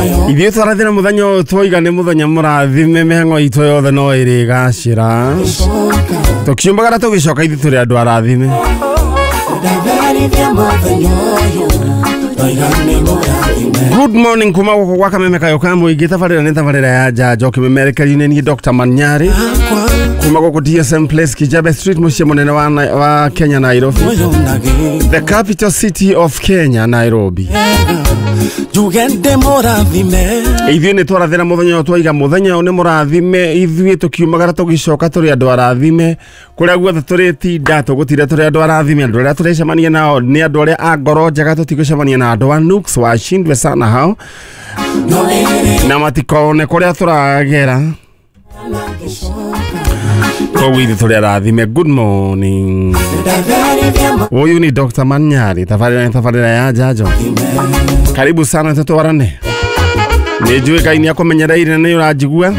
Ithuĩ twarathĩra mũthenya ũyũ twoiga nĩ mũthenya mũrathime mĩhang'o itũ yothe no ĩrĩgacĩra. Tũkiumbagara tũgĩcoka ithuĩ tũrĩ andũ arathime. Ndatherithia mũthenya ũyũ Ndoiga nĩ mũrathime. Good morning kuma gũkũ gwa Kameme Kayo ka mũingĩ. Tabarĩra nĩ tabarĩra ya njanjo kĩmemerekerio-inĩ niĩ Dr. Manyari Akwa kuma gũkũ DSM Place, Kijabe Street, mũciĩ mũnene wa Kenya, Nairobi, ũyũ na gĩko the capital city of Kenya, Nairobi. Njuge ndĩ mũrathime. Ithuĩ nĩ twarathĩra mũthenya ũyũ twaiga mũthenya ũyũ nĩ mũrathime. Ithuĩ tũkiumagara tũgĩcoka tũrĩ andũ arathime. Kũrĩa guothe tũrĩtinda tũgũtinda tũrĩ andũ arathime. Andũ arĩa tũrecemania nao nĩ andũ arĩa a ngoro njega, tũtigũcemania na andũ a nuks, washindwe sana hao No ĩrĩ na matikone kũrĩa tũragera. Na gĩcoka. Koguo ithuĩ tũrĩ arathime. Good morning. Ndatherithia Huyu ni Dr. Manyari, tabarĩra nĩ tabarĩra ya njanjo. Karibu sana tũtwarane. Nĩ njũĩ Ngai nĩ akũmenyereire na nĩ ũranjigua,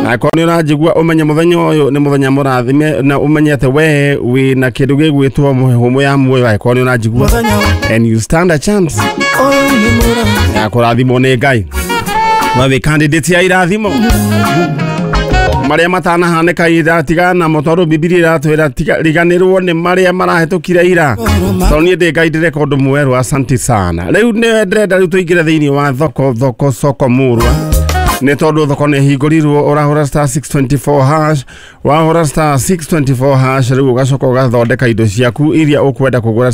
na akorwo nĩ ũranjigua ũmenye mũthenya ũyũ nĩ mũthenya mũrathime na ũmenye atĩ we wĩ na kĩndũ gĩgwĩtwo mĩhũmũ ya muoyo. Angĩkorwo nĩ ũranjigua mũthenya and you stand a chance ũyũ nĩ mũrathime. Ya kũrathimwo nĩ Ngai, we wĩ candidate ya irathimo marĩa matanahanĩka ira tigana namo, tondũ Bibilia ĩratwĩra riganĩrwo nĩ marĩa marahĩtũkire ira, tondũ niĩ ndĩ Ngai ndĩreka ũndũ mwerũ. Asanti sana. Rĩu nĩ ndĩrenda rĩu tũingĩre thĩinĩ wa thoko, thoko soko murwa, nĩ tondũ thoko nĩ hingũrirwo. Ũrahũra *624#, wahũra *624# rĩu ũgacoka ũgathondeka indo ciaku iria ũkwenda kũgũra,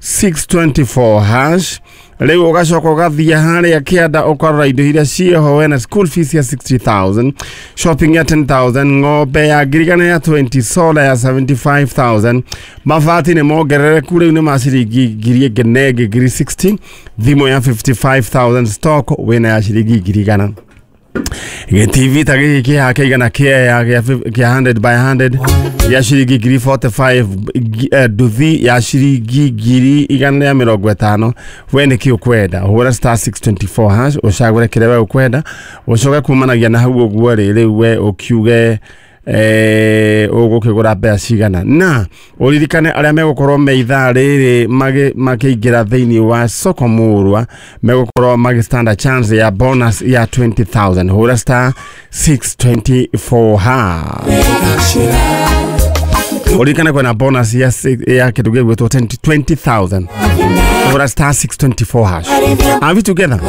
*624# rĩu ũgacoka ũgathiĩ harĩa kĩanda ũkarora indo iria ciĩho. Wena school fees ya 60,000, shopping ya 10,000, ng'ombe ya 100,000 ya 20, solar ya 75,000, mabati nĩ mongerereku rĩu nĩ ma ciringi ngiri ĩngĩ na ĩngĩ ngiri 60, thimũ ya 55,000, stock wĩna ya ciringi 100,000, gĩtv ta gĩkĩ kĩha kĩigana kĩea kĩa 100 by 100 gĩa ciringi ngiri 45, nduthi ya ciringi 150,000. We nĩ kĩ ũkwenda? Hũra *624# ũcagũre kĩrĩa we ũkwenda, ũcoke kumanagia na hau ũguo rĩ, rĩu we ũkiuge ũgũkĩgũra mbeca cigana, na ũririkane arĩa megũkorwo me ithaa rĩrĩ makĩingĩra thĩinĩ wa soko murwa megũkorwo magĩ stand a chance ya bonus ya 20,000. Hũra *624#, ũririkane kwĩna bonus ya kĩndũ gĩgwĩtwo 20,000. Hũra *624#. Are we together?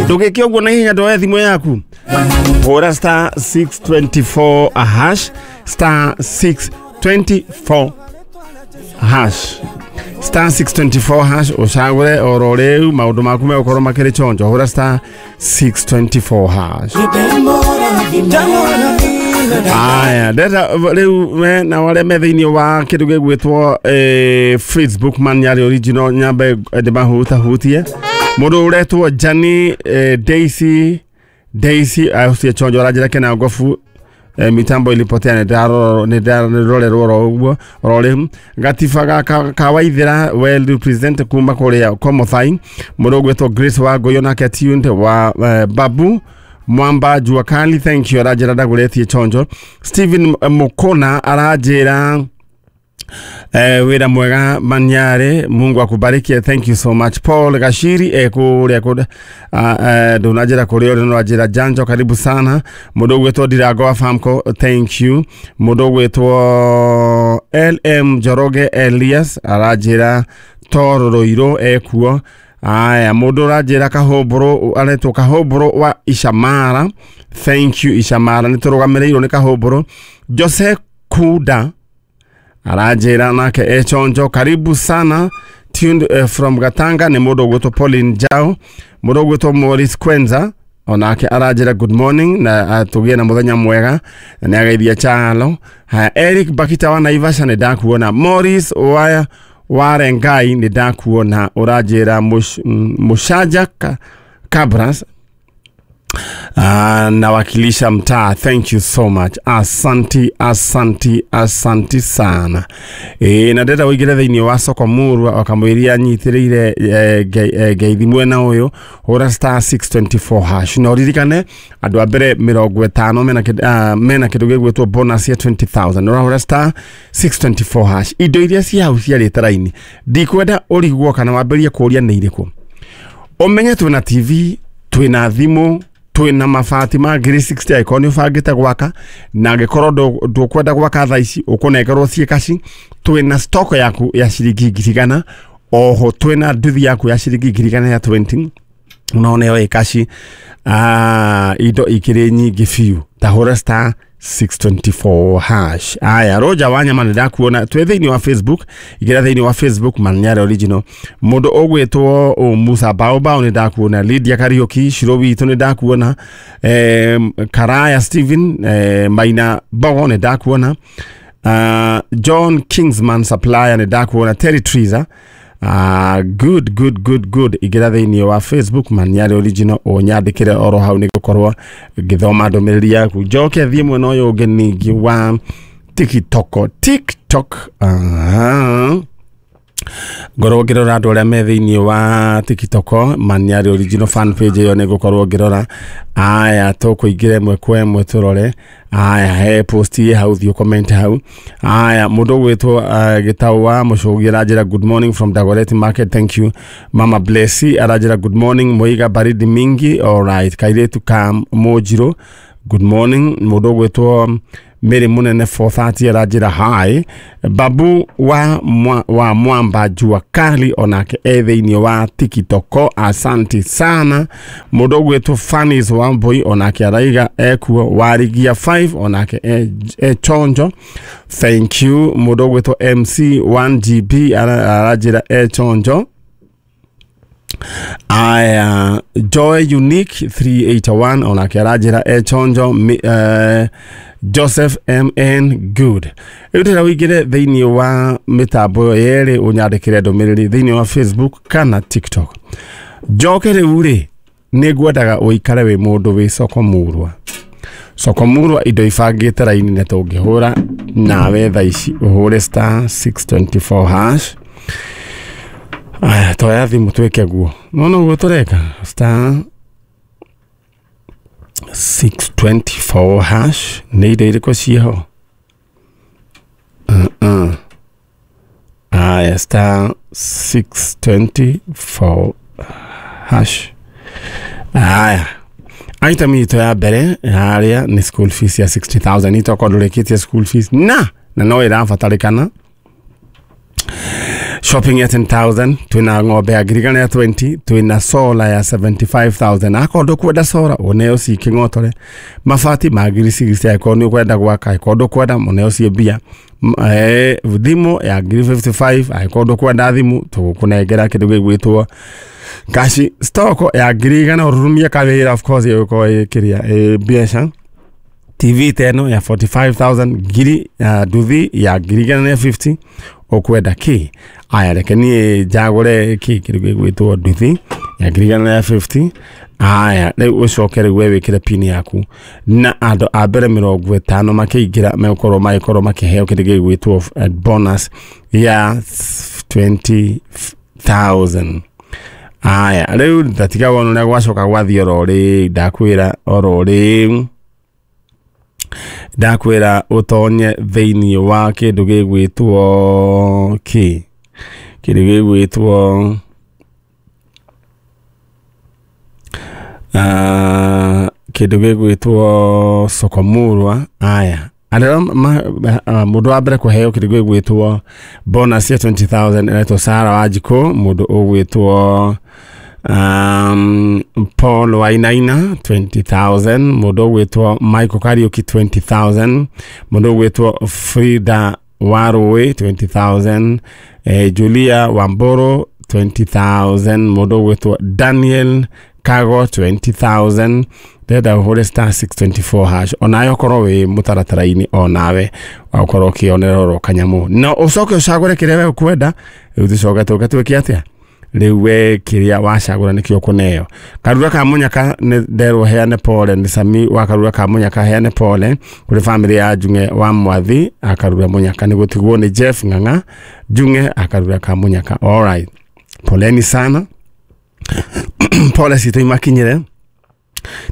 Ndũgĩke ũguo na ihenya, ndoe thimũ yaku, hũra *624#, *624#, *624# ũcagũre oro rĩu, maũndũ maku megũkorwo makĩrĩ chonjo. Hũra *624#. Aya, ndeta rĩu we na arĩa me thĩinĩ wa kĩndũ gĩgwĩtwo Facebook Manyari Original, nyambe ndĩmahutahutie. Mũndũ ũretwo Jani, Daisy, Daisy ũcio chonjo aranjĩra kena ngobu, mitambo ilipotea, nĩndarorerwo oro ũguo oro rĩu. Gatiba ga kawaithĩra well represent kuma kũrĩa Komothai. Mũndũ ũgwĩtwo Grace wa Ngũyũ nake tuned wa Babu Mwamba Jua Kali, thank you, aranjĩra ndagũrĩtie chonjo. Stephen Mukona aranjĩra wĩra mwega Manyare, Mungu akubariki, thank you so much. Paul Gashiri kũrĩa kũrĩa ndũnanjĩra kũrĩa ũrĩ no anjĩra janjo, karibu sana. Mũndũ ũgwĩtwo Ndirango wa Famco, thank you. Mũndũ ũgwĩtwo LM Njoroge Elias aranjĩra Toro Rũirũ ekuo. Aya, mũndũ ũranjĩra Kahũmbũrũ, aretwo Kahũmbũrũ wa Ishamara, thank you. Ishamara nĩ tũrũgamĩrĩirwo nĩ Kahũmbũrũ. Jose Kuda aranjĩra nake echonjo, karibu sana, tuned from Gatanga nĩ mũndũ ũgwĩtwo Pauline Jao. Mũndũ ũgwĩtwo Maurice Kwenza onake aranjĩra good morning na tũgĩe na mũthenya mwega na nĩ ageithia Chalo. Haya, Eric Bakita wa Naivasha nĩ ndakuona. Maurice wa Warengai nĩ ndakuona, ũranjĩra Mushaja Kabras nawakilisha mtaa, thank you so much, asanti, asanti, asanti sana. Na ndĩrenda ũingĩre thĩinĩ wa soko murwa wakamwĩria nyitĩrĩire ngeithi mwena ũyũ. Hũra *624# na ũririkane andũ a mbere 50 mena kĩndũ gĩgwĩtwo bonus ya 20,000. Ũrahũra *624#, indo iria ci hau ciarĩte raini, ndikwenda ũrigwo kana wambĩrĩrie kũũria nĩ irĩkũ. Ũmenye twĩna TV. Twĩna thimũ, twĩna mabati ma ngiri 60 angĩkorwo nĩ ũbangĩte gwaka, na angĩkorwo ndũkwenda gwaka thaa ici ũkũnengerwo ciĩ kaci. Twĩna stock yaku ya ciringi 100,000, oho twĩna nduthi yaku ya ciringi 100,000 ya 20 no nĩyo ĩ kaci. Indo ikĩrĩ nyingĩ biũ, ta hũra star 624 hash. Aya, Roja Wanyama, nĩ ndakuona twĩ thĩinĩ wa Facebook. Ingĩra thĩinĩ wa Facebook, Manyara Original. Mũndũ ũgwĩtwo Musa Baobao, nĩ ndakuona. Lydia Kariuki Shiro witũ, nĩ ndakuona. Karaya Steven, Maina Bogo, nĩ ndakuona. John Kingsman Supplier, nĩ ndakuona. Terry Triza. Good, good, good, good. Ingĩra thĩinĩ wa Facebook, Manyara Original, ũnyandĩkĩre oro hau nĩ gũkorwo ngĩthoma ndũmĩrĩri yaku. Njoke thiĩ mwena ũyũ ũngĩ ningĩ wa TikTok. TikTok. Aha. Ngorwo ngĩrora andũ arĩa me thĩinĩ wa TikTok, Manyarĩ Original fan page ĩyo nĩ ngũkorwo ngĩrora. Aya, tũkũingĩra ĩmwe kwa ĩmwe tũrore. Aya, he post ĩ hau, thiĩ comment hau. Aya, mũndũ ũgwĩtwo Gĩtaũ wa Mũcũgi aranjĩra, "Good morning from Dagoretti Market." Thank you. Mama Blessy aranjĩra, "Good morning Muiga, baridi mingi." Alright. Kairĩtu ka Mũnjirũ, good morning. Mũndũ ũgwĩtwo Mary Munene 430 aranjĩra hi. Babu wa Mwamba Jua Kali onake e thĩinĩ wa TikTok, asanti sana. Mũndũ ũgwĩtwo Fanis Wambui onake araiga ekuo. Warigia 5 onake e chonjo, thank you. Mũndũ ũgwĩtwo MC 1GB aranjĩra e chonjo. Aya, Joy Unique 381 onake aranjĩra e chonjo. Joseph MN, good. Rĩu ndĩra ũingĩre thĩinĩ wa mĩtambo ĩyo yerĩ ũnyandĩkĩre ndũmĩrĩri thĩinĩ wa Facebook kana TikTok. Njoke rĩu rĩ, nĩ ngwendaga ũikare wĩ mũndũ wĩ soko murwa. Soko murwa, indo ibangĩte raini, na tũngĩhũra nawe thaa ici ũhũre star 624 hash. Aya, toya thimũ twĩke guo. Nona ũguo tũreka star 624 hash, nĩ indo irĩkũ ciĩho? Aya, star 624 hash. Aya, item itũ ya mbere harĩa nĩ school fees ya 60,000. Itokorwo ndũrĩkĩtie school fees na no ĩrabatarĩkana. Shopping ya 10,000, twina ng'ombe ya 100,000 ya 20, twina solar ya 75,000. Akorwo ndũkwenda solar, ũneo ci kĩng'otore. Mabati ma ngiri 60 angĩkorwo nĩ ũkwenda gwaka, angĩkorwo ndũkwenda, mũneo ciĩ mbia. Thimũ ya ngiri 55, angĩkorwo ndũkwenda thimũ, tũgũkũnengera kĩndũ gĩgwĩtwo kashi. Stock ya 100,000 ũrurumie kawĩra, of course ĩgũkorwo ĩ kĩrĩa ĩ mbeca. TV teno ya 45,000, ngiri ya nduthi ya 150,000. Ũkwenda kĩ? Aya, reke niĩ njagũre kĩ, kĩndũ gĩgwĩtwo nduthi ya 150,000. Aya, rĩu ũcoke rĩu we wĩkĩre pin yaku, na andũ a mbere 50 makĩingĩra megũkorwo magĩkorwo makĩheo kĩndũ gĩgwĩtwo bonus ya 20,000. Aya, rĩu ndatiga wona ũrĩa gwacoka gwathiĩ. Oro rĩu ndakwĩra, oro rĩu ndakwĩra ũtonye thĩinĩ wa kĩndũ gĩgwĩtwo kĩ, kĩndũ gĩgwĩtwo kĩndũ gĩgwĩtwo sokomurwa. Aya, arĩa mũndũ wa mbere kũheo kĩndũ gĩgwĩtwo bonus ya 20,000 aretwo Sara Wanjikũ. Mũndũ ũgwĩtwo Paul Wainaina, 20,000. Mũndũ ũgwĩtwo Michael Kariuki, 20,000. Mũndũ ũgwĩtwo Frida Warũĩ, 20,000. Julia Wamboro, 20,000. Mũndũ ũgwĩtwo Daniel Kago, 20,000. Ndĩrenda ũhũre star 624 hash onawe ũkorwo wĩ mũtaratara-inĩ, onawe ũkorwo ũkĩonera oro kanyamũ, na ũcoke ũcagũre kĩrĩa we ũkwenda. Rĩu tũcoke tũke twĩke atĩa? Rĩu we kĩrĩa wacagũra nĩkĩo ũkũneo. Karura ka Mũnyaka, nĩ nderwo heane pole. Nĩ Sami wa Karura ka Mũnyaka, heane pole kũrĩ famĩlĩ ya Njung'e wa Mwathi akarura Mũnyaka, nĩ gũtigwo nĩ Jeff Ng'ang'a Njung'e akarura ka Mũnyaka. Alright, poleni sana, pole citũ imakinyĩre.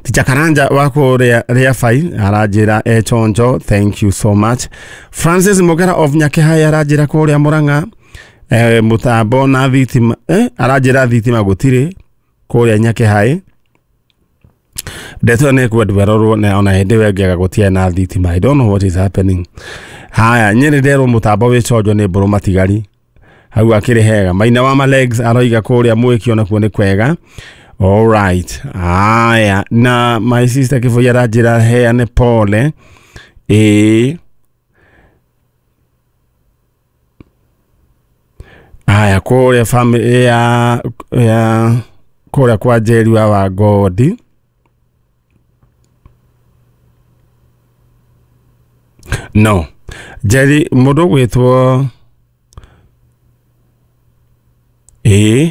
Ticha Karanja wa kũrĩa Rĩabai aranjĩra e chonjo, thank you so much. Francis Mugera of Nyakĩhai aranjĩra kũrĩa Mũrang'a, mũtambo na thitima, aranjĩra thitima gũtirĩ kũrĩa Nyakĩhai. Ndeto nĩ kwendwo ĩrorwo na ona hĩndĩ ĩyo ĩngĩaga gũtiarĩ na thitima. I don't know what is happening. Haya, nyĩrĩ nderwo mũtambo wĩ conjo nĩ mbũrũ matigari hau akĩrĩ hega. Maina wa Malegs aroiga kũrĩa mwĩki onakuo nĩ kwega. Alright. Haya, na my sister Kĩboi aranjĩra heane pole. Ĩĩ. Haya, kũrĩa family ya kũrĩa kwa Njeri wa Wangodi. No. Njeri mũndũ ũgwĩtwo ĩĩ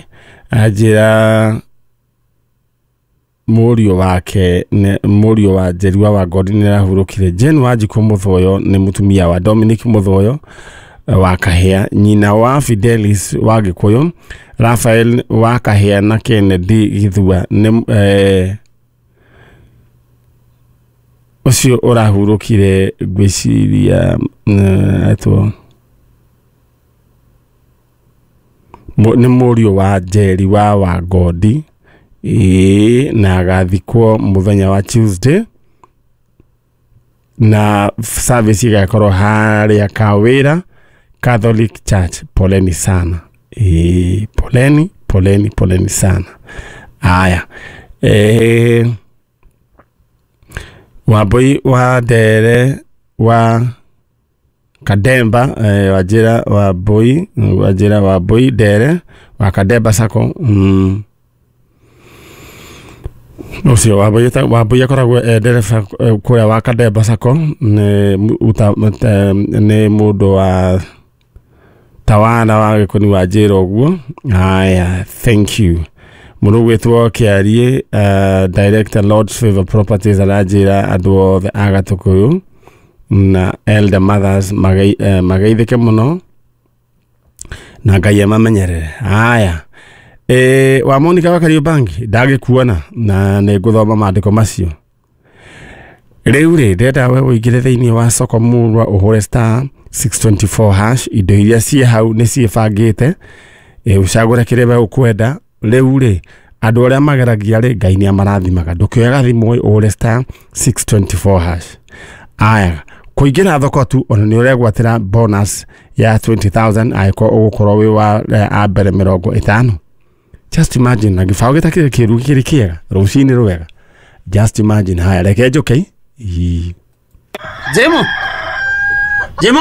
anjĩra mũriũ wake mũriũ wa Njeri wa Wangodi nĩ arahurũkire. Jane Wanjikũ Mũthoyo nĩ mũtumia wa Dominic Mũthoyo wa Kahĩa, nyina wa Fidelis wa Gĩkũyũ, Raphael wa Kahĩa na Kennedy Gĩthua nĩ ũcio ũrahurũkire ngwĩciria etwo nĩ mũriũ wa Njeri wa Wangodi. Ĩĩ, na agathikwo mũthenya wa Tuesday na service igakorwo harĩa Kawĩra Catholic Church. Poleni sana. Ĩĩ, poleni poleni poleni sana. Aya, Wambui wa Ndere wa Kademba, Wajira Wambui, Wajira Wambui Ndere wa Kademba Sacco. Ũcio Wambui akoragwo e ndereba kũrĩa wa Kademba Sacco, nĩ mũndũ wa Tawana wa Gĩkũni wa njĩra ũguo. Haya, thank you. Mũndũ ũgwĩtwo Kĩarie, Director Lord's Favor Properties aranjĩra andũ othe a Gatũkũyũ na Elder Mothers mageithĩke mũno na Ngai amamenyerere. Haya, wa Monica wa Kariobangi ndagĩkuona na nĩ ngũthoma maandĩko macio. Rĩu rĩ, ndĩrenda we ũingĩre thĩinĩ wa soko murwa ũhũre star 624 hash. Indo iria ciĩ hau nĩ ciĩbangĩte, ũcagũre kĩrĩa we ũkwenda. Rĩu rĩ, andũ arĩa mageragia rĩ, Ngai nĩ amarathimaga. Ndũkĩoyaga thimũ ũhũre star 624 hash. Aya, kũingĩra thoko tu ona nĩ ũregwatĩra bonus ya 20,000 angĩkorwo ũgũkorwo wĩ wa a mbere 50. Just imagine, na gĩbaũ gĩtakĩrĩ kĩru kĩrĩ kĩega rũcinĩ rwega. Just imagine. Haya, reke njũke. Jemo. Jemo.